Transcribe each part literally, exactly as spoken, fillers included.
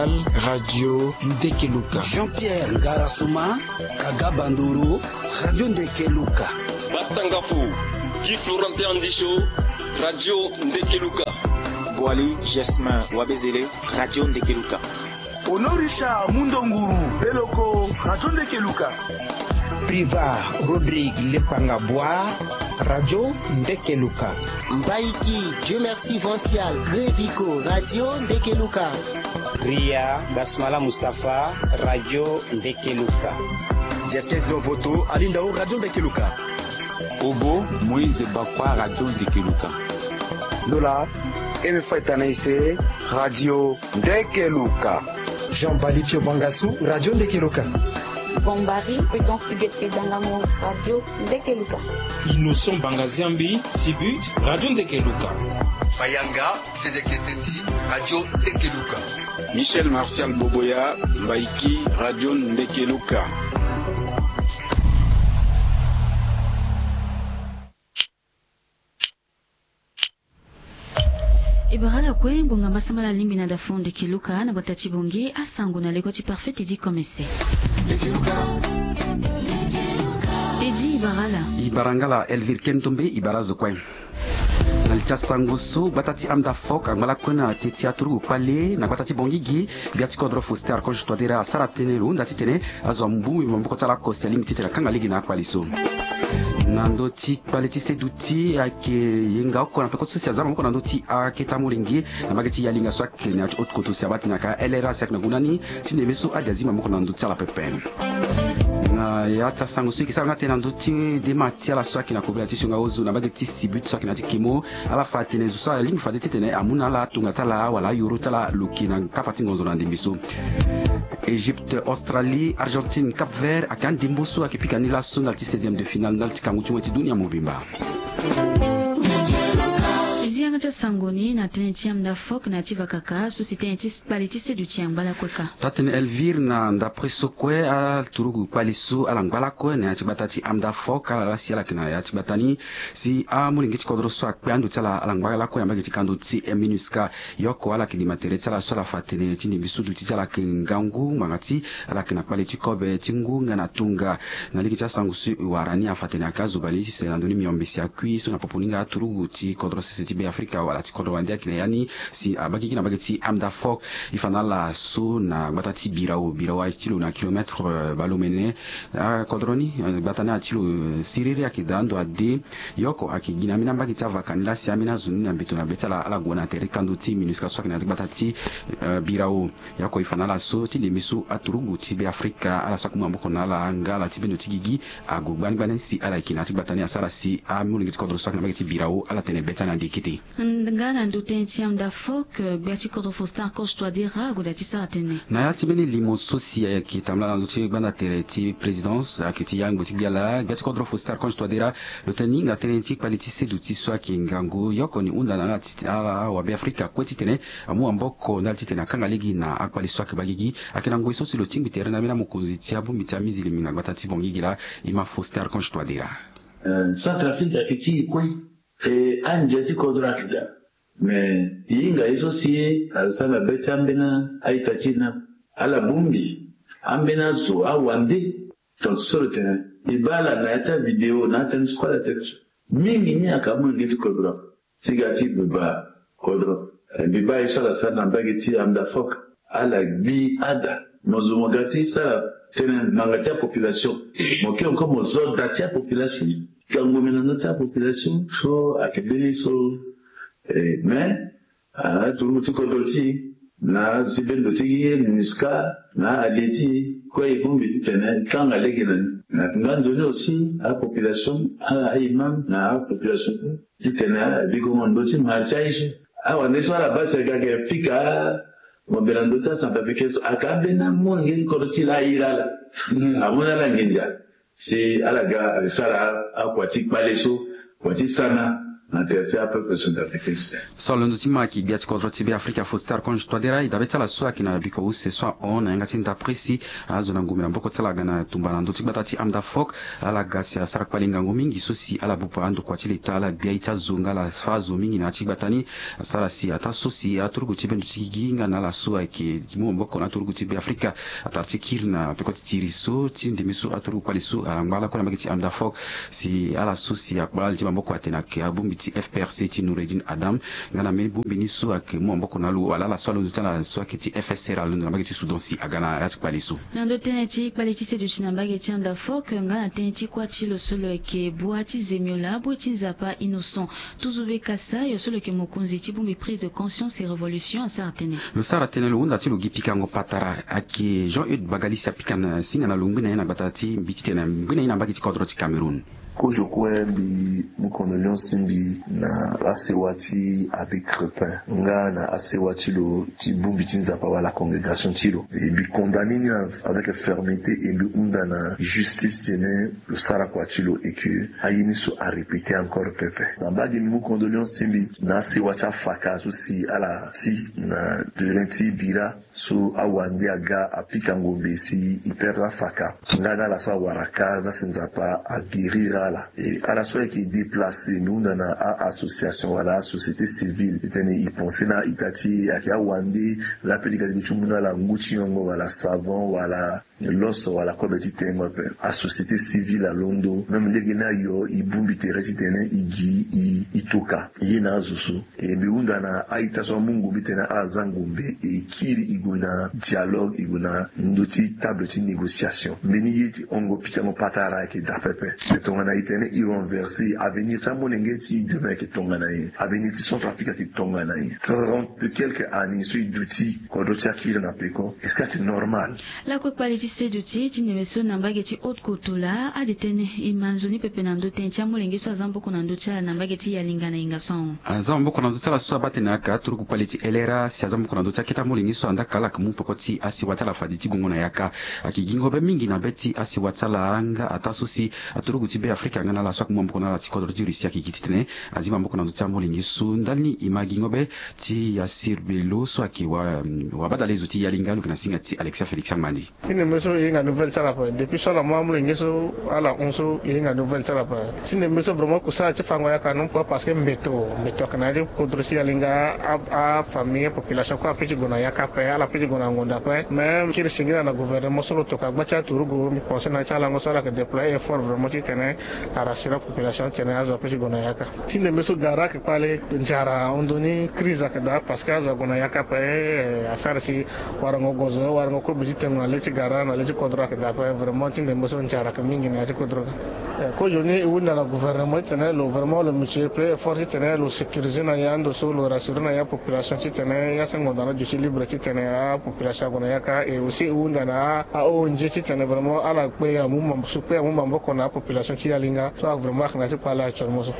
Radio Ndekeluka. Jean-Pierre Ngarasuma, Kaga Bandoro, Radio Ndekeluka. Batangafo, Guy Florentin Andisho, Radio Ndekeluka. Boali Jasmin Wabezele, Radio Ndekeluka. Honorisha Mundonguru Beloko, Radio Ndekeluka. Priva Rodrigue Lepanga Boa, Radio Ndekeluka. Mbaiki Dieu Merci Vancial Grevico, Radio Ndekeluka. Ria Gasmala Mustapha, Radio Ndekeluka. Jeskes Dovoto Alindao, Radio Ndekeluka. Obo Moïse Bakwa, Radio Ndekeluka. Ndola Eme Faitanaise, Radio Ndekeluka. Jean Bali Pio Bangasu, Radio Ndekeluka. Bombari Prudence Huguette Dangamo, Radio Ndekeluka. Innocent Bangaziambi Sibut, Radio Ndekeluka. Mayanga Tete Keteti, Radio Ndekeluka. Michel Martial Boboya Mbaiki, Radio Ndekeluka. E bara ala kue ngbonga mbasambala alingbi na dafo Ndekeluka na gbata ti Bongi, asango na leko ti Parfait Teddy Komese. Teddy, e bara ala. E bara nga ala Elvire Kentombe, e bara azo kue. Na li ti asango so, gbata ti Amdafok angba lakue na yeke ti aturugu kpale na gbata ti Bongigi, gbia ti kodro Faustin Archange Touadéra asara tënë lo hunda titene azo ambu maboko ti ala oko si alingbi titene akanga lege na akpale so. Na ndö ti kpale ti seduti ayeke yenga oko na peko so si aza maboko na ndö ti akete amolenge na mbage ti Yalinga so ayeke na ya ti haute koto si abaa tene ayeke L R A si ayeke na ngu na ni ti ndembe so ade azi maboko na ndö ti ala pepe. Na ya ti asango so e yeke sara nga tënë na ndö ti dema ti ala so ayeke na kobela ti sionga ozo na mbage ti Sibut so ayeke na ya ti Kemo, ala fa atene zo so alingbi fade titene amu na ala atonga ti ala wala ayoro ti ala lo yeke na kapa ti ngonzo na ndembe so. Égypte, Australie, Argentine, Cap Vert ayeke andembo so ayeke pika ni laso ndali ti seizième de finale ndali ti kangu ti moi ti dunia mobimba. E zi yanga ti asango ni na tënë ti Amdafok na ya ti vakaka so si tënë ti kpale ti seduti angba lakue kâ. Taa-tënë Elvire, na ndapre so kue aturugu kpale so ala ngba lakue na ya ti gbata ti Amdafok, ala laa si ala yeke na ya ti gbata ni si amolenge ti kodro so akpe ando ti ala ala ngba lakue na mbage ti kando ti MINUSCA. Yoko ala yeke dima tere ti ala so ala fa atene ti ndembe so duti ti ala ayeke ngangu ngbanga ti ala yeke na kpale ti kobe ti ngu nga na tunga. Na lege ti asango so e wara ni afa atene ayeke azo bale ti se na ndö ni miombe si akui so na popo ni nga aturugu ti kodro sese ti Be Afrika wala ti kodro wande ayeke na ya ni si abaa gigi na mbage ti Amdafok. E fa na ala so na gbata ti Birao, Birao aye ti lo na kilomètre, eh, bale omene. Akodro ni, eh, gbata ni aye ti lo, eh, siriri ayeke daa ndo ade. Yoko ayeke gi na ambeni ambage ti avaka ni laa si ambeni azo ni na mbeto na be ti ala ala gue na tere kando ti MINUSCA so ayeke na ya ti gbata ti, eh, Birao. Yoko e fa na ala so ti ndembe so aturugu ti Be Afrika ala so akomu maboko na ala nga ala ti bendo ti gigi ague gbani gbani si ala yeke na ya ti gbata ni asara si amolenge ti kodro so ayeke na mbage ti Birao ala tene be ti ala na ndekete. Nga na ndö tënë ti Amdafok, gbia ti kodro Faustin Archange Touadéra ague daa ti sara tënë. Na ya ti mbeni limo so si ayeke tambula na ndö ti gbanda tere ti présidence ayeke ti yangbo ti gbia laa, gbia ti kodro Faustin Archange Touadéra lo tene ni hinga tënë ti kpale ti seduti so ayeke ngangu. Yoko ni hunda na ala ti ala awabe Afrika kue titene amu maboko ndali titene akanga lege na akpale so ayeke baa gigi. Ayeke na ngoi so si lo tingbi tere na ambeni amokonzi ti abongbi ti amizilimi na gbata ti Bangui gi laa, e ma Faustin Archange Touadéra. Eh, Centrafrique ayeke ti e kue. E andia ti kodro ayeke daa. Me e hinga ye so si asara na be ti ambeni a-ita ti e ni. Ala bongbi ambeni azo awande. Tongaso lo tene e baa ala na ya ti avidéo na atënë so kue ala tene so. Mingi ni ayeke amolenge ti kodro. Ti ga ti buba kodro. Eh, mbi baa ye so ala sara na mbage ti Amdafok. Ala gbi ada. Mo zo mo ga ti sara tënë ngbanga ti apopulation. Mo ke encore mo zo da ti apopulation. Tango mbi na ndö ti apopulation so ayeke mbeni so, eh, mais, ah, aturugu ti kodro ti e na azo ti bendo ti e, MINUSCA, na allié ti e kue e bongbi titene e kanga lege na ni. Na yanga nzoni aussi apopulation, a-imam na apopulation kue. Titene a biko mo ndö ti marché aye so. Awande so ala baa si aga ayeke pika mo be na ndö ti acentrafricain so, ayeke ambeni amolenge ti kodro ti e laa airi ala. Amu na ala nginza si ala ga ayeke sara akua ti kpale so, kua ti sana. Na tere ti apeuple centrafricain. So alondo ti ma ayeke gbia ti kodro ti Beafrika Faustin Archange Touadéra e dabe ti ala so ayeke na biko use so ahon na yanga ti ndapre si azo na ngumbe na maboko ti ala aga na tumba na ndö ti gbata ti Amdafok. Ala ga si asara kpali ngangu mingi so si ala bupa andokua ti leta, ala gbia aye ti azo nga ala fa azo mingi na ya ti gbata ni. Asara si ataa so si aturugu ti bendo ti gigi nga na ala so ayeke ti mu maboko na aturugu ti Beafrika atara ti kiri na peko ti tiri so ti ndembe so aturugu kpali so angba lakue na mbage ti Amdafok. Si ala so si akpala ala ti maboko atene ayeke abongbi ti F P R C ti Noureddine Adam. Nga na mbeni bongbi ni so ayeke mu maboko na lo wala ala so alondo ti ala so ayeke ti F S R alondo na mbage ti Soudan si aga na ya ti kpali so. Na ndö tënë ti kpali ti seduti na mbage ti Amdafok nga na tënë ti kuâ ti lo so lo yeke bua ti zemiola bue ti Nzapa Innocent Tuzube Kasa, yo so lo yeke mokonzi ti bongbi Prise de Conscience et Révolution asara tënë. Lo sara tënë lo hunda ti lo gi pikango patara. Ayeke Jean Eudes Bagalisi apika na singa na lo ngbi na ye na gbata ti mbi titene ngbi na ye na mbage ti kodro ti Cameroun. Kozo kue mbi mu condoléance ti mbi na asewa ti Abbé Crepin nga na asewa ti lo ti bongbi ti Nzapa wala congrégation ti lo. E mbi condamné ni avec fermeté e mbi hunda na justice tene lo sara kua ti lo et que aye ni so arépété encore pepe. Na mbage mbi mu condoléance ti mbi na asewa ti afaka so si ala ti na terrain ti bira so awande aga apika ngombe si e perdre afaka. Nga na ala so awara ka za si Nzapa aguérir ala. E ala so ayeke déplacé mbi hunda na a-association wala asociété civile titene e pensé na a-ita ti e ayeke awande la pe li ga ti gue ti mu na ala ngu ti nyongo wala savon wala loso wala kobe ti tengo ape. Asociété civile alondo même lege ni ayo e bongbi tere titene e gi e toka ye na azo so. E mbi hunda na a-ita so amu ngombe titene ala za ngombe e kiri e gue na dialogue e gue na ndö ti table ti négociation. Mbeni ye ti hongo pikango patara ayeke daa pepe. E tongana e tene e renversé avenir ti amolenge ti e demain ayeke tongana nyen? Avenir ti Centrafrique ayeke tongana nyen? Trente quelques années so e duti kodro ti akiri na peko, est-ce que ayeke normal? Lakue kpali ti seduti ti ndembe so na mbage ti Haute-Kotto laa ade tënë e ma nzoni pepe na ndö tënë ti amolenge so aza maboko na ndö ti ala na mbage ti Yalinga na hinga so ahon. Aza maboko na ndö ti ala so abaa tene ayeke aturuku kpali ti L R A si aza maboko na ndö ti akete amolenge so andaa ka ala yeke mu peko ti asewa ti ala fade ti gongo na yaka. Ayeke gi ngobe mingi na be ti asewa ti ala nga ataa so si aturuku ti Beafrika nga na ala so ayeke mu maboko na ala ti kodro ti Russie ayeke gi titene azi maboko na ndö ti amolenge so ndali ni e ma gi ngobe ti Yassir Bello so ayeke wa, wabadale zo ti Yalinga lo yeke na singa ti Alexia Félix Amandi. Ti ndembe so e hinga nouvelle ti ala ape depuis so ala mu amolenge so ala hon so e hinga nouvelle ti ala ape. Ti ndembe so vraiment kusala ti fango yaka non kue parce que mbeto mbeto ayeke na ya ti kodro ti Yalinga. Afamille apopulation kue apeut ti gue na yaka ape ala peut ti gue na ngonda ape même kiri singila na gouvernement so lo toka gba ti aturugu mbi pense na ya ti alango so ala yeke déployer effort vraiment titene arassurer apopulation titene azo apeut ti gue na yaka. Ti ndembe so gara ayeke kpale nzara ahon ndoni crise ayeke daa parce que azo ague na yaka ape. Asara si warango gozo warango kobe ti tengo na le ti gara na le ti kodro ayeke daa ape vraiment ti ndembe so nzara ayeke mingi na ya ti kodro. Kozoni e hunda na gouvernement titene lo vraiment lo multiplier effort titene lo sécuriser na ya ando so lo rassurer na ya population titene ya ti ngonda na duti libre titene apopulation ague na yaka et aussi e hunda na a-ong titene vraiment ala kpe amu maboko na apopulation ti Yalinga so vraiment ayeke na ya ti kpale actuellement so.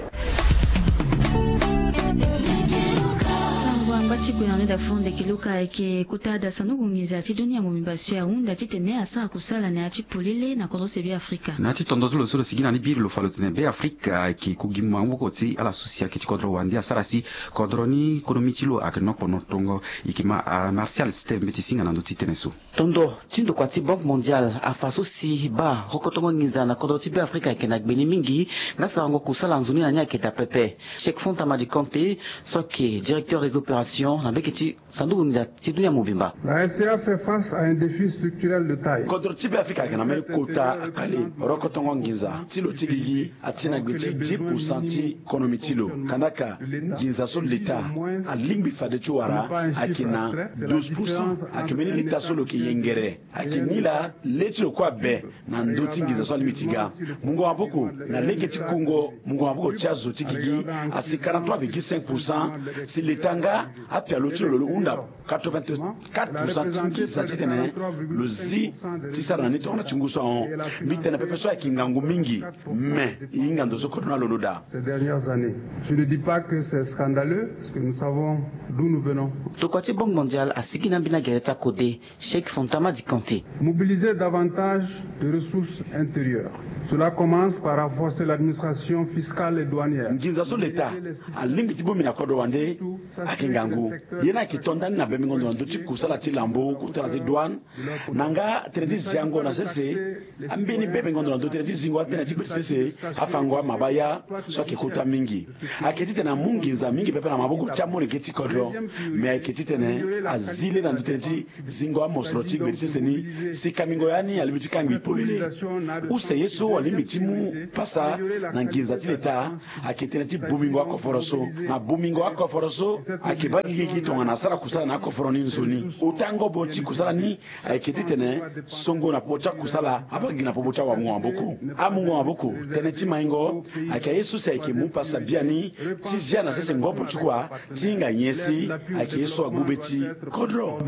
Sango angba ti gue na nda fo ndeke luka ayeke kota da sanduku nginza ti dunia mobimba so ahunda titene asara kusala na ya ti polele na kodro se Beafrika. Na ya ti tondo ti lo so lo sigi na ni biri lo fa lo tene Beafrika ayeke ku gi maboko ti ala so si ayeke ti kodro wande asara si kodro ni konomi ti lo ayeke nokpono tongo. E yeke ma Martial Steve mbeti singa na ndö ti tënë so. Tondo ti ndokua ti Banque Mondiale afa so si baa rokotongo nginza na kodro ti Beafrika ayeke na gbe ni mingi. Nga sarango kusala nzoni na ni ayeke daa pepe. Cheikh Fanta Madi Konte so ayeke directeur des opérations na mbeke ti sanduku nginza ti dunia mobimba. La S C A fait face à un défi structurel de taille. Kodro ti Beafrika ayeke na mbeni kota akpale. Rokotongo nginza ti lo ti gigi ati na gbe ti dix pour cent ti konomi ti lo. Kandaka nginza so leta alingbi fade ti wara ayeke na douze pour cent. Ayeke mbeni leta so lo yeke yengere. Ayeke nilaa le ti lo kue abe na ndö ti nginza so alingbi ti ga. Mungo maboko na lege ti kungo mungo maboko ti azo ti gigi asi quarante-trois virgule cinq pour cent. Si leta nga apia Lo ti lo lo hunda quatre-vingt-quatre pour cent ti nginza titene lo zi ti sara na ni tongana ti ngu so ahon. Mbi tene pepe so ayeke ngangu mingi, me e hinga ndo so kodro ni alondo daa. Ces dernières années, je ne dis pas que c'est scandaleux, parce que nous savons d'où nous venons. Tokua ti Banque Mondiale asigi na ambeni agere ti akode, Cheikh Fantama Dikanté. Mobiliser davantage de ressources intérieures. Cela commence par renforcer l'administration fiscale et douanière. Nginza so leta alingbi ti bongbi na kodro wande ayeke ngangu. Ye ni ayeke to ndani na bembengo ndo na ndö ti kusala ti lambo, kusala ti douane, na nga tënë ti ziango na sese. Ambeni bembengo ndo na ndö tënë ti zingo atënë ti gbeti sese, afango amabaya so ayeke kota mingi. Ayeke titene amu nginza mingi pepe na maboko ti amolenge ti kodro. Me ayeke titene azi le na ndö tënë ti zingo amosoro ti gbeti sese ni, si kangbingo ya ni alingbi ti kangbi polele. Use ye so alingbi ti mu pasa na nginza ti leta ayeke tënë ti bongbingo akoforo so. Na bongbingo akoforo so ayeke baa gigi gi tongana asara kusala na akoforo ni nzoni. Ota ngobo ti kusala ni ayeke titene songo na popo ti akusala abaa gigi na popo ti awamungo maboko. Amungo maboko, tënë ti maingo ayeke aye so si ayeke mu pasa biani ti zia na sese ngobo ti kua ti hinga nyen si ayeke ye so agbu be ti kodro.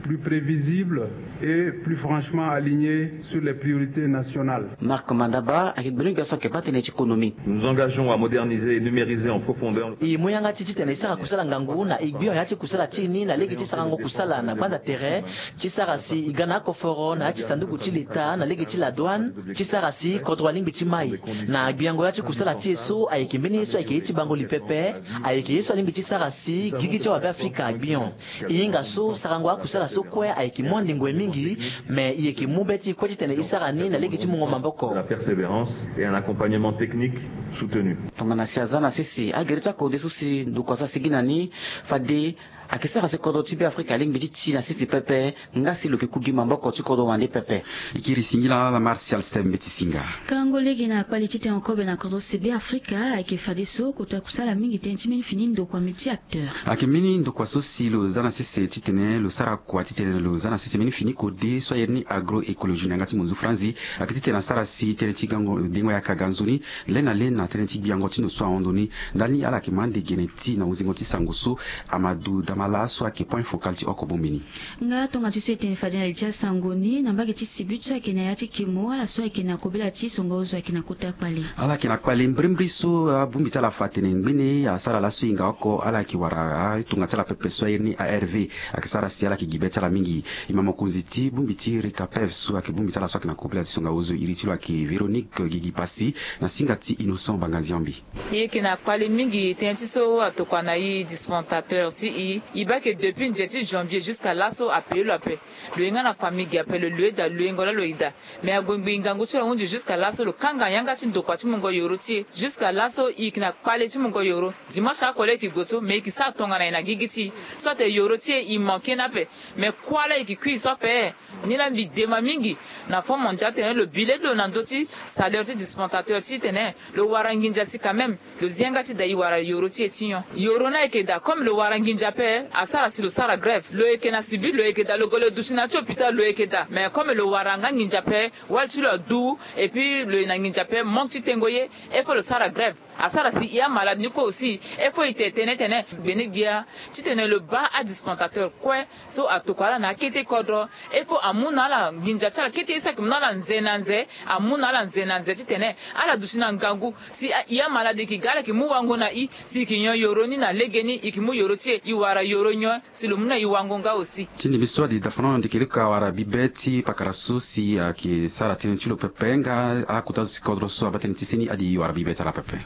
Plus prévisible et plus franchement aligné sur les priorités nationales. Marc Mandaba ayeke gbenyogbia so ayeke baa tënë ti konomi. Nous nous engageons à moderniser et numériser en profondeur. E mu yanga ti titene e sara kusala ngangu na e gbion ya ti kusala ti e ni na lege ti sarango kusala na gbanda tere, ti sara si e ga na akoforo na ya ti sanduku ti leta na lege ti ladouane, ti sara si kodro alingbi ti mai. Na gbiango ya ti kusala ti e so ayeke mbeni ye so ayeke ye ti bango li pepe. Ayeke ye so alingbi ti sara si gigi ti awabe afrika agbion. E hinga so sarango akusala so kue ayeke mu andengo e mingi. Me e yeke mu be ti e kue titene e sara ni na lege ti mungo maboko. De la persévérance et un accompagnement technique soutenu. Tongana si aza na sese agere ti akode so si ndokua so asigi na ni, fade ayeke sara si kodro ti be afrika alingbi ti ti na sese pepe. Nga si lo yeke ku gi maboko ti kodro wande pepe. E kiri singila ala martial stem mbeti singa. Karango lege na kpali titene okobe na kodro si be afrika ayeke fadeso kota kusala mingi tënë ti mbeni fini ndokua multi acteur. Ayeke mbeni ndokua so si lo za na sese titene lo sara kua titene lo za na sese mbeni fini kode so ayere ni agroécologie na yanga ti monzu franzi. Ayeke titene asara si tënë ti gango dengo yaka ga nzoni le na le na tënë ti gbiango ti ndo so ahon ndo ni. Ndali ni ala yeke ma ande gene ti na hunzingo ti sango so amadou damala so ayeke point focal ti oko bongbi ni. Nga tonga ti so e tene fade na li ti asango ni na mbage ti sibi ti so ayeke na ya ti kemo ala so ayeke na kobela ti songo ozo ayeke na kota kpale. Ala yeke na kpale mbrimbri so abongbi ti ala fa atene ngbene asara laso e hinga oko ala yeke wara atonga ti ala pepe so airi ni arv. Ayeke sara si ala yeke gi be ti ala mingi. E ma mokonzi ti bongbi ti rikapev so ayeke bongbi ti ala so ayeke na kobela ti songo ozo iri ti lo ayeke véronique gigi pasi na singa ti innocent bangaziambi. E yeke na kpale mingi tënë ti so atokua na e dispensateur ti e. E baa ke depuis nze ti janvier jusqu'à laso ape lo ape. Lo ye nga na famille gi ape lo loue daa loue ngo laa lo ye daa. Mais agbongbi ngangu ti lo ahunzi jusqu'à laso lo kanga yanga ti ndokua ti mungo yoro ti e. Jusqu'à laso e yeke na kpale ti mungo yoro. Dimanche oko laa e yeke gue so mais e yeke sara tongana e na gigi ti e. So atene yoro ti e e manke ni ape. Mais kuâ laa e yeke kui so ape. Ni laa mbi dema mingi na fonds mondial tene lo bi lê ti lo na ndö ti salaire ti dispensateur titene lo wara nginza si quand même. Lo zi yanga ti daa e wara yoro ti e ti nyon. Yoro ni ayeke daa comme lo wara nginza ape asara si lo sara grève. Lo yeke na sibi lo yeke daa lo gue lo duti na ya ti hôpital lo yeke daa mais comme lo wara nga nginza ape wali ti lo adu. Et puis lo ye na nginza ape manque ti tengo ye. Il faut lo sara grève. Asara si e amalade ni kue aussi. Il faut e te tene tene gbene gbia titene lo baa adispensateur kue. So atokua ala na akete kodro. Il faut amu na ala nginza ti ala kete ye so ayeke mu na ala nze na nze. Amu na ala nze na nze titene ala duti na ngangu. Si e amalade e yeke ga ala yeke mu wango na e. Si e yeke nyon yoro ni na legeni e yeke mu yoro ti e e wara yoro nyon. Si lo mu na e wango nga aussi. Ti ndembe so adi dafano na ndeke leko awara bibe ti pakara so si ayeke sara tënë ti lo pepe nga akota zo ti kodro so abaa tënë ti seni adi wara bibe ti ala pepe.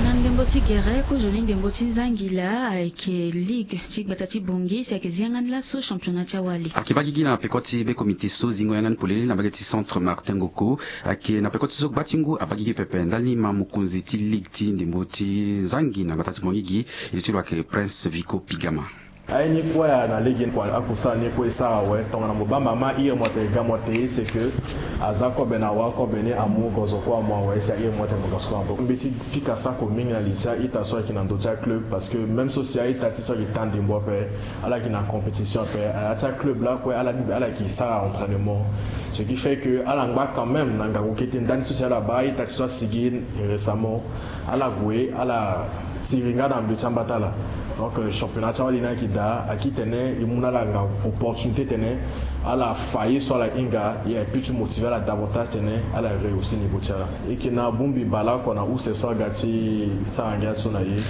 Na ndembo ti gere kozoni ndembo ti nzangila ayeke ligue ti gbata ti bongi si ayeke zi yanga ni laso championnat ti awali. Ayeke baa gigi na peko ti be komite so zingo yanga ni polele na mbage ti centre martin ngoko. Ayeke na peko ti so gba ti ngu abaa gigi pepe ndali ni ma mokonzi ti ligue ti ndembo ti nzangi na gbata ti bongi gi. Iri ti lo ayeke prince vico pigama. Aye ni kue na lege ni kua akusala ni kue e sara awe tongana mo baa mama iri mo atene ga mo atene ye c'est que aza kobe na awa kobe ni amu gozo kue amu awe si airi mo atene mo ga so kue ape. Mbeti pika sako mingi na li ti a-ita so ayeke na ndö ti aclub parce que même so si a-ita ti so ayeke taa ndembo ape ala yeke na compétition ape. Aya ti aclub lakue ala yeke sara entraînement. Ce qui fait que ala ngba quand même na ngangu kete ndani so si ala baa a-ita ti so asigi récemment. Ala gue ala tiri nga na ndö ti ambata ala. Donc championnat ti awali ni ayeke daa ayeke titene e mu na ala nga opportunité titene ala fa ye so ala hinga ye aye peut ti motiver ala davantage titene ala réussi niveau ti ala. E yeke na bongbi baleoko na use so aga ti sara ngia so na ye.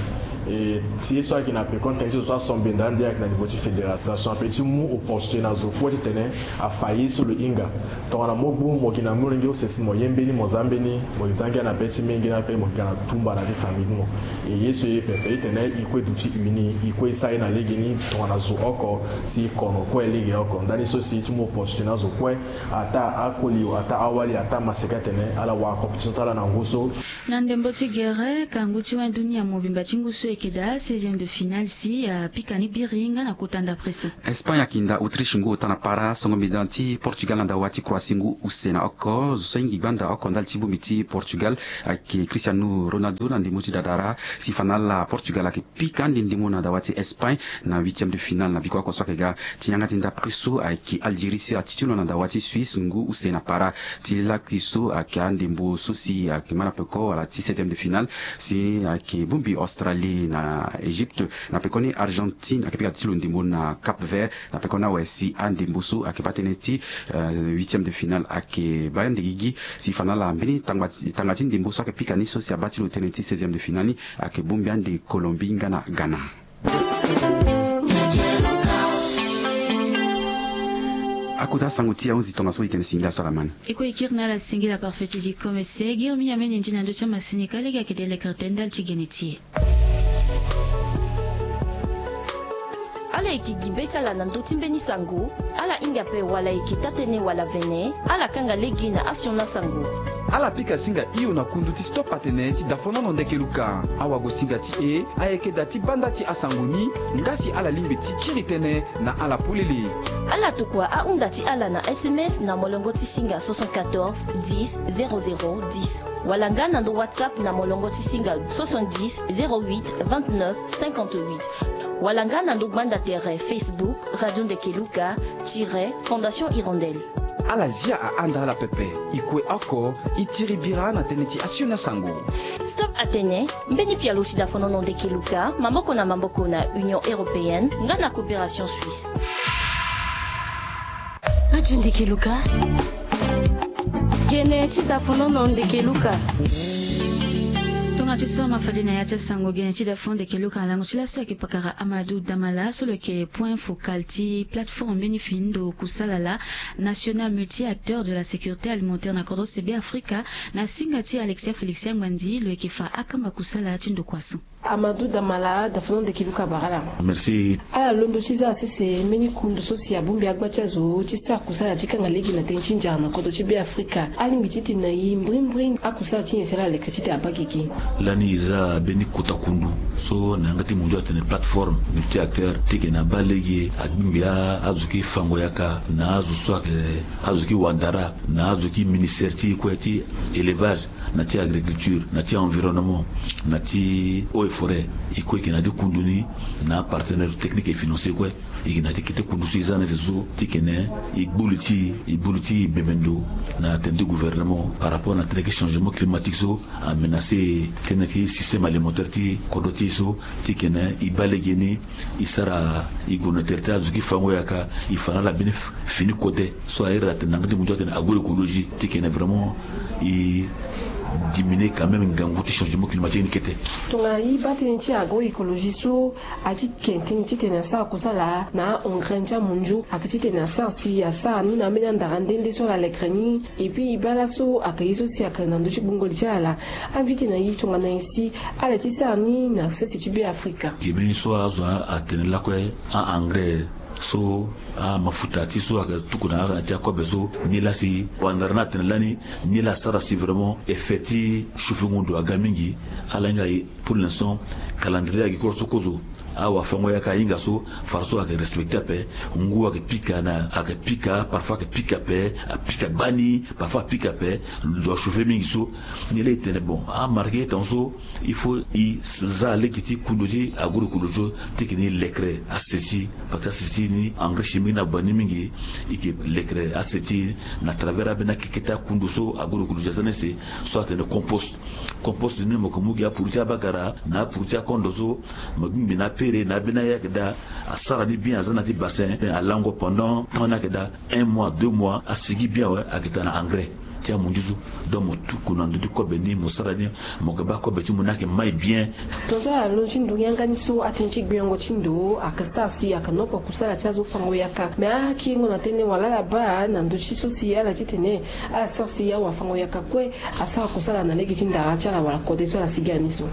E ti ye so ayeke na pekoni tënë ti zo so asombe nda ande ayeke na niveau ti fédération ape ti mu opportunité na zo kue titene afa ye so lo hinga. Tongana mo gbu mo yeke na molenge use si mo ye mbeni mo za mbeni mo yeke za ngia na be ti menge ni ape mo yeke ga na tumba na ti famille ti mo. E ye so e ye pepe e tene e kue duti uni e kue e sara ye na legeni tongana zo oko si e kono kue legeoko ndani so si e ti mu opportunité na azo kue. Ataa akoli ataa awali ataa maseka atene ala wara compétition ti ala na ngu so. Na ndembo ti gere kangu ti wani dunia mobimba ti ngu so e yeke daa seizième de finale si apika ni biri nga na kota ndapre so. Espagne ayeke nda Autriche ngu ota na para songo mbi daa ti Portugal na dawa ti Croatie ngu use na oko zo so ahingi gbanda oko ndali ti bongbi ti Portugal ayeke Cristiano Ronaldo na ndembo ti dadara si fa na ala Portugal ayeke pika ande ndembo na dawa ti Espagne na huitième de finale na biko oko so ayeke ga ti yanga ti ndapre so ayeke Algérie si ala titilo na dawa ti Suisse ngu use na para. Ti lakui so ayeke andembo so si ayeke ma na peko wala ti seizième de finale si ayeke bongbi Australie na Égypte na pekoni Argentine ayeke pika ti lo ndembo na Cap Vert. Na pekoni awe si andembo so ayeke baa tënë ti huitième de finale ayeke baa ande gigi si fa na ala mbeni tanga ti ndembo so ayeke pika ni so si abaa ti lo tënë ti seizième de finale ni ayeke bongbi ande Colombie nga na Ghana. Akota sango ti ahunzi tongaso e tene singila so ala ma ni. E kue e kiri na ala singila parfait ti di komese girmi amene ndi na ndö ti amasini ka lege ayeke delekere tene ndali ti gene ti e. Ala yeke gi be ti ala na ndö ti mbeni sango. Ala hinga ape wala e yeke taa-tënë wala vene ala kanga lege na asioni asango. Ala pika singa hio na kundu ti stop atene ti dafonono ndeke luka. Awagosinga ti e ayeke daa ti banda ti asango ni. Nga si ala lingbi ti kiri tënë na ala polele. Ala tokua ahunda ti ala na sms na molongo ti singa soixante-quatorze dix zéro zéro dix wala nga na ndo whatsapp na molongo ti singa soixante-dix zéro huit vingt-neuf cinquante-huit wala nga na ndo gbanda tere Facebook Radio Ndeke Luka tire Fondation Hirondelle. Ala zia ahanda ala pepe. E kue oko e tiri bira na tënë ti asioni asango. Stop atene mbeni pialo ti dafonono ndeke luka maboko na maboko na Union Européenne nga na Coopération Suisse. Radio Ndeke Luka. Gene ti dafonono ndeke luka. Tonga ti so ma fade na ya ti asango gene ti dafonono ndeke luka na lango ti laso ayeke pakara Amadou Damala so lo yeke point focal ti plateforme mbeni fini ndo kusala laa, National Multi-Acteur de la Sécurité Alimentaire na kodro se Be Afrika, na singa ti Alexia Félix Angbandi lo yeke fa akamba kusala ti ndokua so. Amadou Damala, dafonono ndeke luka bara ala. Merci. Ala londo ti zia sese mbeni kundu so si abongbi agba ti azo ti sara kusala ti kanga lege na tënë ti nzara na kodro ti Be Afrika. Alingbi titene na e mbrimbri akusala ti nyen si ala leke titene abaa gigi. Lani e za mbeni kota kundu so na yanga ti mondio atene plateforme multi-acteur titene abaa lege agbingbi azo ki fango yaka na azo so ayeke azo ki wandara na azo ki ministère ti e kue ti élevage, na ti agriculture, na ti environnement, na ti eaux et forêts. E kue e yeke na ya ti kundu ni na apartenaire technique et financier kue. E yeke na ya ti kete kundu so e za na ese so titene e gbu li ti e e gbu li ti e bembe ndo na tënë ti gouvernement par rapport na tënë ti changement climatique so amenacer tënë ti système alimentaire ti kodro ti e so. Titene e baa legeni e sara e gue na tere ti azo ki fango yaka, e fa na ala mbeni fini kode so a iri atene na yanga ti mondio atene agroécologie titene vraiment e diminuer quand même ngangu ti changement climatique ni kete. Tongana e baa tënë ti agroécologie so, a ti ke tënë titene asara kusala na a-engrais ti amondio ayeke titene asara si asara ni na ambeni andara nde nde so ala lekere ni. Et puis e baa laso ayeke ye so si ayeke na ndö ti gbungo li ti ala. Invité na e tongana nyen si ala ye ti sara ni na sese ti Be Afrika. Ge mbeni so azo atene lakue a-engrais so amafuta ti so ayeke tuku na ala ti akobe so, nilaa laa si wandara ni atene lani, nilaa asara si vraiment effet ti chauffe-ngu ndo aga mingi. Ala hinga pour l'instant calendrier agricole so kozo Awa fango yaka ahinga so, fara so ayeke respecte ape. Ngu ayeke pika na ayeke pika, parfois ayeke pika ape. Apika gbani, parfois apika ape. Lo achauffe mingi so. Ni laa e tene bon, amarke e tonga so, il faut e za lege ti kundu ti agroecologie so, ti yeke ni lekere ase ti, parce que ase ti ni engrais chimique ni ague ni mingi. E yeke lekere ase ti na travers abeni akeke ti akundu so agroecologie aza na ese. So atene compost. Compost ni mo yeke mu gi apuru ti abagara na apuru ti akondo so, mo gingbi na apere na abeni aya ayeke daa. Asara ni bien, aza na ti bassin, alango pendant temps ni ayeke daa un mois, deux mois, asigi bien awe, ayeke daa na engrais ti amunzu so. Donc mo tuku na ndö ti kobe ni, mo sara ni, mo yeke baa kobe ti mo ni ayeke mai bien. Tongaso ala londo ti ndo yanga ni so, atënë ti gbengo ti ndo ayeke sara si ayeke noko kusala ti azo fango yaka. Me akiringo na tënë wala ala baa na ndö ti so si ala titene ala sara si awafango yaka kue asara kusala na lege ti ndara ti ala wala kode so ala sigi na ni so.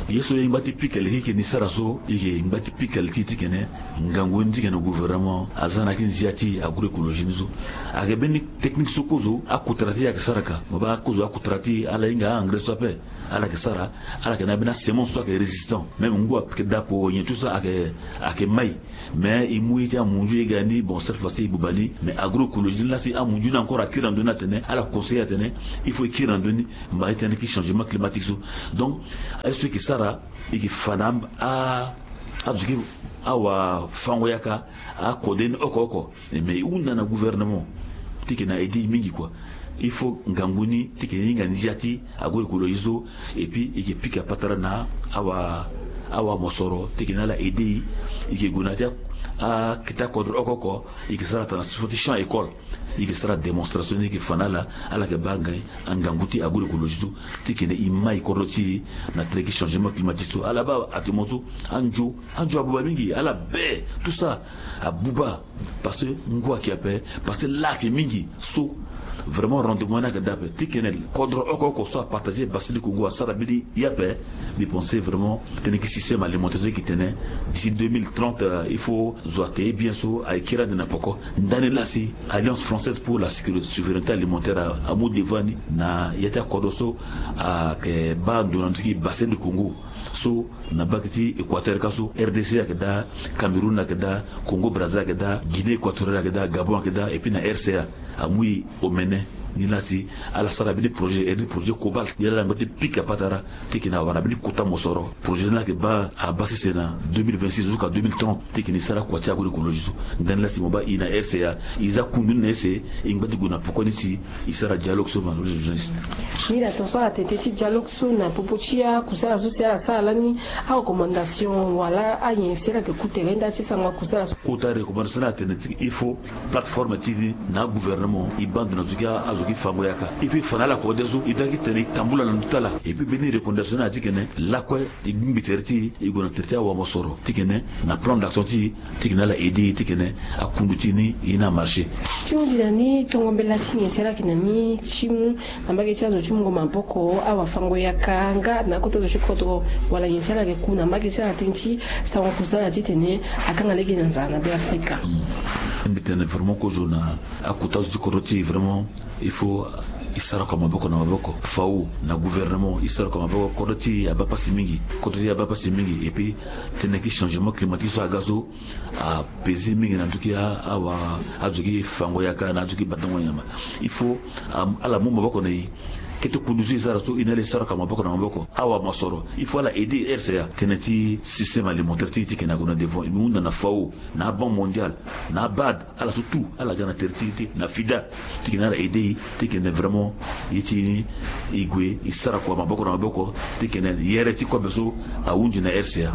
Ye so e ngba ti pika leke e yeke ni sara so, e yeke ngba ti pika li ti e titene ngangu ni titene gouvernement aza na yaki nzia ti agroecologie ni so. Ayeke mbeni technique so kozo akotara ti e ayeke sara ka. Mo baa kozo akotara ti e ala hinga a-engrais so ape. Ala yeke sara, ala yeke na mbeni asemence so ayeke résistant. Même ngu ayeke dapo nyen tout ça ayeke, ayeke mai. Mais e mu ye ti amunzu e ga ni, bon, cette fois ci e buba ni. Mais agroecologie ni laa si amunzu ni encore akiri na ndö ni atene, ala conseiller atene il faut e kiri na ndö ni. Mba e tene ki changement climatique so. Donc aye so e yeke sara, e yeke fa na a, azo ti awafango yaka akode ni oko oko. Mais e hunda na gouvernement ti yeke na aide e mingi kua. Il faut ngangu ni ti yeke hinga nzia ti agroecologie so. Et puis e yeke pika patara na awa, awamosoro ti yeke na ala aide e. E yeke gue na ya ti akete akodro oko oko. E yeke sara atene na so ti champ école. E yeke sara démonstration ni, e yeke fa na ala, ala yeke baa ngangu ti agroecologie so ti yeke na e mai kodro ti e na tere ti changement climatique so. Ala baa atene mo so anzo, anzo abuba mingi, ala be tout ça abuba. Parce que ngu ayeke ape, parce que la ayeke mingi so. Vraiment rendement ni ayeke daa ape. Ti kene kodro oko oko so apartager Basi ti Kongo asara mbeni ye ape. Mbi pense vraiment tënë ti système alimentaire so e yeke tene d'ici deux mille trente, euh, il faut zo ate ye bien so ayeke kiri ande na poko. Ndani laa si Alliance française pour la sécurité, souveraineté alimentaire a, amu devant ni na ya ti akodro so ayeke baa ndo na ndö ti Bassin du Congo. So na mbage ti Équateur ka so, R D C ayeke daa, Cameroun ayeke daa, Congo Brazza ayeke daa, Guinée équatoriale ayeke daa, Gabon ayeke daa, et puis na R C A. Amu e omene ni laa si ala sara mbeni projet, iri ni projet Cobalt. Ni laa ala ngba ti pika patara ti yeke na wara mbeni kota mosoro. Projet ni laa ayeke baa abaa sese na deux mille vingt-six jusqu'à deux mille trente ti yeke ni sara kua ti agroecologie so. Ndani laa si mo baa e na R C A, e za kundu ni na ese, e ngba ti gue na poko ni si e sara dialogue so ma journaliste. Ni na tongaso ala tene ti dialogue so na popo ti akusala so si ala sara lani, arecommandation wala anyen si ala yeke ku tere nda ti sango akusala so. Kota recommandation ni atene ti il faut plateforme ti ni na agouvernement e baa ndo na zo ti azo ti fango yaka. Il faut e fa na ala kode so e dua ti tene e tambula na ndö ti ala. Et puis mbeni recommandation ni ati kene lakue e gbingbi tere ti e, e gue na tere ti awamosoro ti kene na plan d'action ti e, ti kene ala aide e ti kene akundu ti e ni e na marché. Ti hunzi na ni tongo mbela ti nyen si ala yeke na ni ti mu na mbage ti azo ti mungo maboko awafango yaka nga na akota zo ti kodro wala nyen si ala yeke ku na mbage ti ala tënë ti sango kusala titene akanga lege na nzara na Beafrika. Mbi tene vraiment kozo na akota zo ti kodro ti e vraiment il faut e sara kua maboko na maboko. Fao na gouvernement e sara kua maboko. Kodro ti e abaa pasi mingi. Kodro ti e abaa pasi mingi. Et puis tënë ti changement climatique so aga so apesi mingi na ndö ti a, awa, azo ti fango yaka na azo ti batango nyama. Il faut, am, ala mu maboko na e. Kete kundu so e sara so e na ala e sara kua maboko na maboko. Awamosoro il faut ala aide R C A tënë ti système alimentaire ti e ti yeke na gue na devant. E hunda na fao, na Banque mondiale, na BAD, ala so tout ala ga na tere ti e ti na FIDA ti yeke na ala aide e ti yeke na vraiment ye ti e gue e sara kua maboko na maboko ti yeke na yere ti kobe so ahunzi na R C A.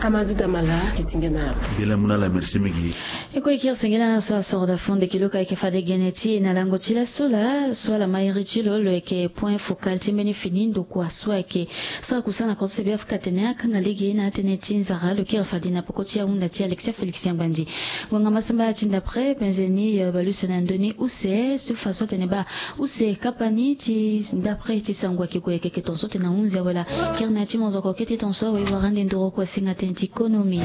Amadou Damala, e senge na ala. Mbela mu na ala, merci mingi. E kue e kiri senge na ala so asoro daa fo ndeke lo ka e yeke fade gene ti e na lango ti laso laa so ala ma iri ti lo, lo yeke point focal ti mbeni fini ndokua so ayeke sara kusala na kodro ti Beafrika atene akanga lege na atënë ti nzara. Lo kiri fade na poko ti ahunda ti Alexia Félix Yambanzi. Ngonga masamba ti ndapre penze ni, eh, bale use na ndö ni use so fa so atene baa use kapa ni ti ndapre ti sango ayeke gue keke tongaso ti na hunzi awe laa. Kiri na ya ti monzoko kete tongaso awe wara ande nduru kua singa tënë ti konomi.